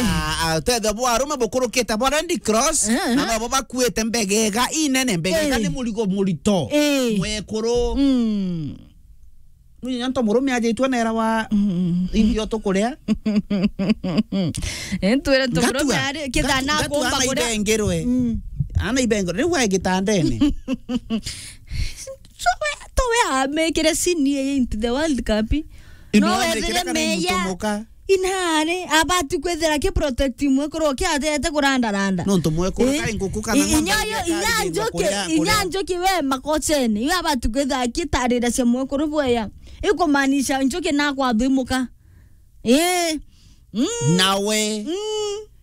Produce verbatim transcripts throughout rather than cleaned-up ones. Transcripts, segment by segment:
Ah, ah, tethio bwa arume bukurukite bwa Red Cross, eh, na nobo bakuite mbegega inene, mbegega, eh, ni murigo murito. Eh. Mwekuru. Mm. Mwenye nto murume ajitwe nera wa, mm, irio tukuria. Eh, twire to murume ari kithana ngatu-, ngatu kuomba ana kuria. Ibengerwe. Mm. Ana ibengerwe. Riu ae gitandene. So we, to we amekire sini ye into the World Cup. Ino no amekire wethire kana meya. Mutomoka. Inare, abati kwithira ki protect mwekuru ki atete kurandaranda. Nontu mwekuru, eh, kai nguku kana i-, ng'ombe inya yo, iria inya njuki, kuria, inya kuria. Njuki we makosene. Iyo abati kwithira ki tarira cia mwekuru bweya. Ikumaanisha njuki na kwathimuka. Eh. Mm. Nawe. Mm.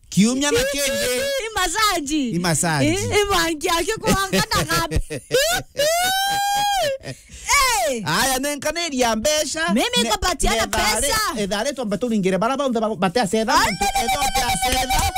Kiumia na kingi. I massage. I massage. Eh, ibangi yake kwanga na gapi. Eh. Aya, nenkaniria mbeca. Mimi ne-, nikapatiana ne thari, pesa. Ethari twambe turingire bara bonthe ba-, bateacetha. Ai, muntu, ne, ne, ne, ethwa ne, ne, teacetha. Ne, ne, ne, ne, ne.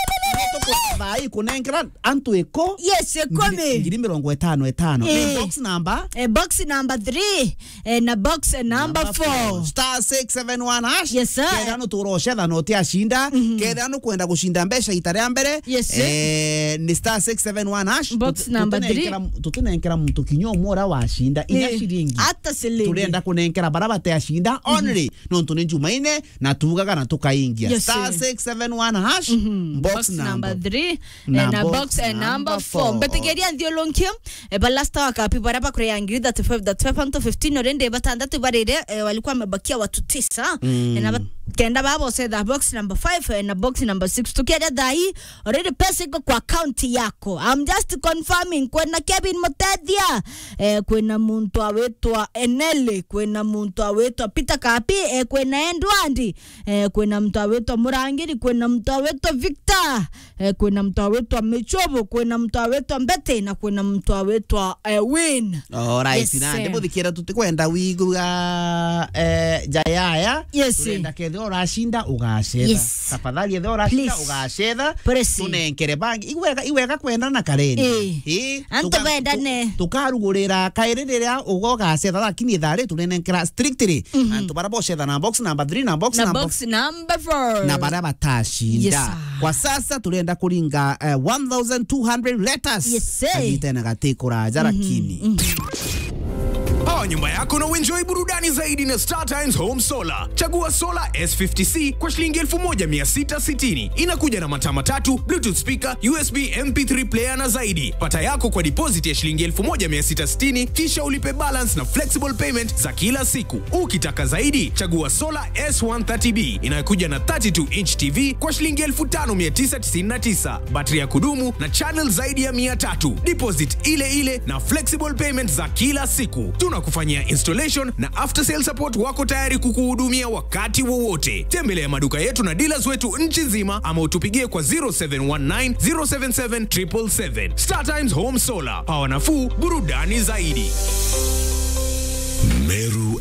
Tukuthai kunenkera antu iko. Yes, ikumi. Ngiri, ngiri mirongo itano itano. Eh. Ni box number? Eh, box number three. Eh, na box, eh, number four. Number four. Star six seven one hash. Yes, sir. Kethira nutura ucetha na utiacinda. Mhm. Kethira nukwenda gucinda mbeca ita ria mbere. Yes, sir. Eh, ni star six seven one hash. Box number three. Tutinenkera, tutinenkera muntu kinya umwe uria wacinda inya, eh, ciringi. Ata ciringi. Turenda kunenkera bara bateacinda, mhm, only. Nontu ni Jumaine, na tuugaga na tukaingia. Yes, sir. Star six seven one hash, mhm, box number three, eh, na box, eh, number four. Mbetigeria nthiulunkie, eh, balasta wakapi bara bakurea ngiri thirty-five, thirty-five antu fifteen already, batandatu barire, eh, walikuwa wamebakia watu tisa. Mm. Eh, na ba-, kenda babo setha box number five, eh, na box number six. Tukiaria thaa hii, already pesa iko kwa account yako. I'm just confirming. Kwina Kevin Mutethia, eh, kwina muntu awitwa Enele, kwina muntu awitwa Peter Kapi, eh, kwina Edward, eh, kwina muntu awitwa Murangiri, kwina muntu awitwa Victor, eh, kwina muntu awitwa Michobo, kwina muntu awitwa Mbete, na kwina muntu awitwa, eh, Win. Alright, yes, na sir. Ndimuthikira tutikwenda wigua, eh, jayaya. Yes. Turenda kethira uracinda, ugacetha. Yes. Tafadhali, ethira uracinda, please, ugacetha. Please. Tunenkere bangi. Iwega, iwega kwenda na kareni. Eh. Eh, antu tuka-, bendane. Tu-, tukarugurira kairi riria ugo ugacetha, lakini ithari turinenkera strictly. Mhm. Antu bara bocetha na box number three, na box na number box number four. Na bara batacinda. Yes, sir. Kwa sasa turenda kuringa, eh, one thousand two hundred letters. Yes, sir. Kagitene gatikuraja, mhm, lakini. Mhm. Pawa nyumba yako na uenjoy burudani zaidi na Star Times Home Solar. Chagua Solar S fifty C kwa shilingi elfu moja mia sita sitini. Inakuja na mataa matatu, Bluetooth speaker, U S B M P three player na zaidi. Pata yako kwa deposit ya shilingi elfu moja mia sita sitini, kisha ulipe balance na flexible payment za kila siku. Ukitaka zaidi, chagua Solar S one thirty B inayokuja na thirty-two inch T V kwa shilingi elfu tano mia tisa tisini na tisa. Battery ya kudumu na channel zaidi ya mia tatu. Deposit ile ile na flexible payment za kila siku. Tunakufanyia installation na after sale support, wako tayari kukuhudumia wakati wowote. Tembelea maduka yetu na dealers wetu nchi nzima ama utupigie kwa zero seven one nine, zero seven seven, triple seven. Star Times Home Solar. Power nafuu, burudani zaidi. Meru